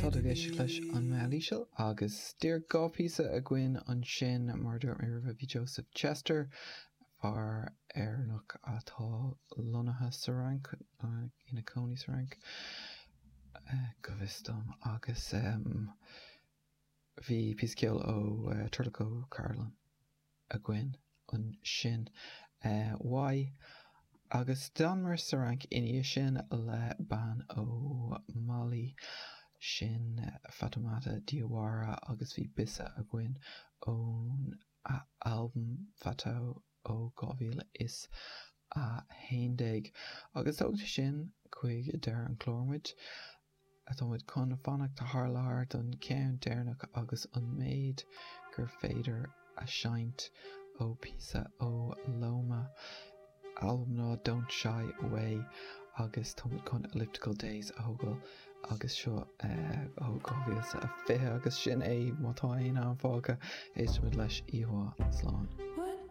Tá tú ag éisteacht leis an Meall Íseal agus díreach 2 phíosa againn ansin mar a dúirt mé roimhe bhí Joseph Chester, fear Éireannach atá lonnaithe sa Fhrainc, ina cónaí sa Fhrainc go bhfios dom, agus bhí píosa ceoil ó Turlough O'Carolan. againn ansin. Why? Agus d'fhanamar sa Fhrainc ina dhiaidh sin le bean ó Mali, sin Fatoumata Diawara agus bhí Bissa againn ón albam Fatou ó 2011. Agus tógann sé sin chuig deireadh an chláir muid. Tá muid chun fanacht thar lear don cheann deireanach agus an méid gur féidir a seinnt ó píosa ó Loma, albam ná Don't Shy Away agus tá muid chun Elliptical Days a thógáil agus seo ó 2020 agus sin é má tá aon am fágtha éistfimid leis oíche mhaith slán.